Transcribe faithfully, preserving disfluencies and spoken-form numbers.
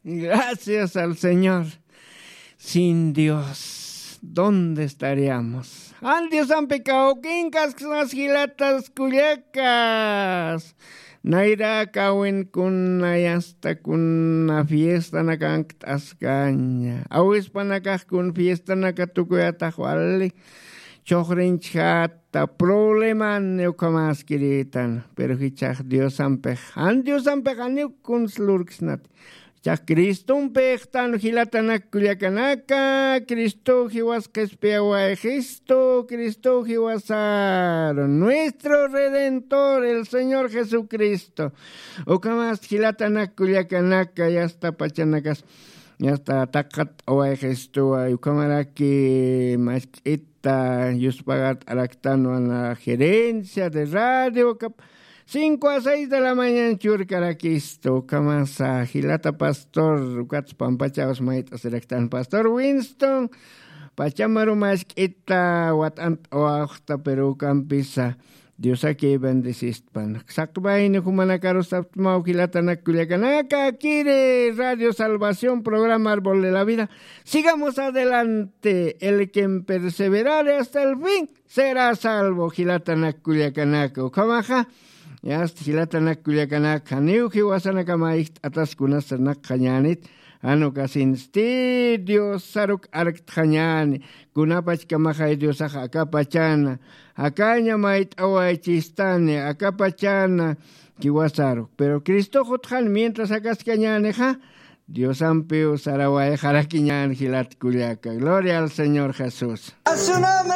Gracias al Señor. Sin Dios, ¿dónde estaríamos? Jan Diosampi kawkinkasknas jilatas kullakas. Nayra kawin kuna yasta kuna fiestanakankt'askaña. Awispanakax kun fiestanaka tukuyatax wali. Chuxrinchjata probleman ukhamaskiritan. Pero jichhax Diosampix, jan Diosampix janiw kuns lurksnati. Chax Cristompixtan jilatanak kullakanaka, Cristo jiwas qhispiyawayxistu, Cristo jiwasaru, nuestro Redentor, el Señor Jesucristo. Ukhamas jilatanak kullakanaka, yasta pachanakas, yasta taqat awayxistuwa, ukhamaraki mask'ita, yuspagat araktanwan gerencia de radio, kap, cinco a seis de la mañana churkarakistu, ukhamasa, jilata pastor, ukats pampachawas mayt'asiraktan pastor Winston, pachamaru mask'ita, wat'ant'awaxta, pero ukampisa, Diosaki bendisistpan. Saqmayni jumanakarus saptmaw jilatanak kullakanaka, kiri Radio Salvación, programa Árbol de la Vida. Sigamos adelante. El quien perseverare hasta el fin será salvo, jilatanak kullakanaka. Ukhamaxa, yasta jilatanak kullakanaka, janiw jiwasanakama ijt'atas kunas sarnaqxañänit, jan ukasinsti Diosaruk arktxañäni, kunapachkamaxay Diosax akapachana, akaña mayt'awaychistani, akapachana jiwasaruk. Pero Cristox utxan mientras akaskañänixa, Diosampiw sarawayxarakiñän jilat kullaka. Gloria al Señor Jesús. A su nombre.